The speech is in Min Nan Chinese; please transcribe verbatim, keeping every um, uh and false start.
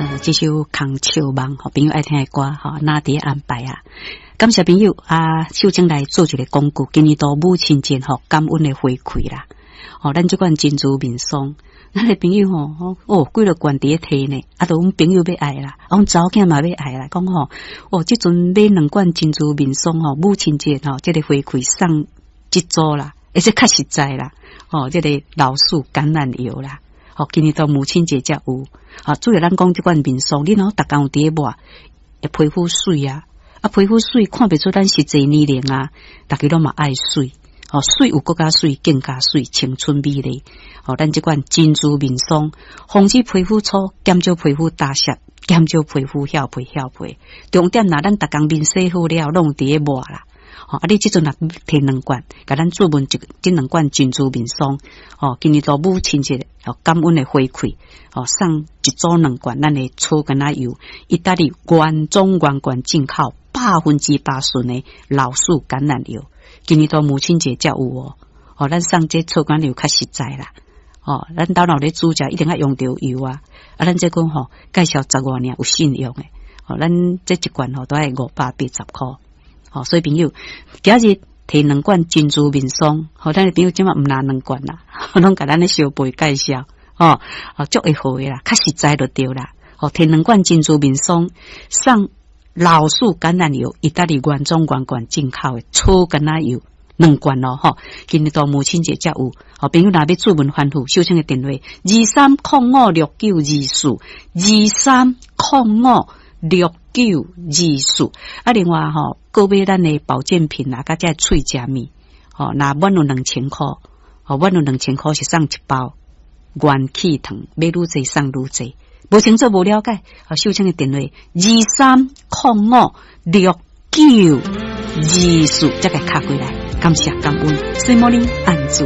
呃，這首《空笑夢》吼，朋友愛聽的歌吼，哪佇安排啊？感謝朋友啊，秀清來做一個廣告，今年度母親節吼，感恩的回饋啦。吼，咱這款珍珠面霜，咱的朋友吼，哦，幾落罐佇咧提呢，啊，都阮朋友欲愛啦，啊，阮查某囝嘛欲愛啦，講吼，哦，這陣買兩罐珍珠面霜吼，母親節吼，這個回饋送一組啦，而且較實在啦，吼，這個老樹橄欖油啦。吼，今年到母親節才有，啊，主要咱講這款面霜，你若逐工有佇咧抹，會皮膚媠啊，啊，皮膚媠，看袂出咱實際年齡啊，逐家攏嘛愛媠，吼，媠有閣較媠，更加媠，青春美麗。吼，咱這款珍珠面霜，防止皮膚粗，減少皮膚打濕，減少皮膚翹皮翹皮。重點若咱逐工面洗好了，攏佇咧抹啦。吼，啊！你這陣若提兩罐，共咱注文一這兩罐珍珠面霜，吼，今年度母親節，吼，感恩的回饋，吼，送一組兩罐咱的草橄欖油，意大利原裝原罐進口百分之百純的老樹橄欖油，今年度母親節才有哦，吼，咱送這草橄欖油較實在啦，吼，咱兜若咧煮食一定愛用著油啊，啊，咱這款吼介紹十外年有信用的，吼，咱這一罐吼都愛五百八十箍。吼，所以朋友，今日提兩罐珍珠面霜，吼，咱的朋友這馬毋拿兩罐啦，攏共咱咧小輩介紹，吼，哦，足會好的啦，較實在就對啦。吼，提兩罐珍珠面霜，送老樹橄欖油，意大利原裝原罐進口的草橄欖油兩罐咯，吼，今日到母親節才有，吼，朋友若欲注文反覆，秀清的電話二三空五六九二四二三空五六九二四，啊，另外吼，購買咱的保健品啊，佮這喙食物，吼，若滿有兩千箍，吼，滿有兩千箍是送一包元氣糖，買愈濟送愈濟，無清楚無了解，啊，秀清的電話二三空五六九二四，才共敲過來，感謝感恩，水魔玲按住。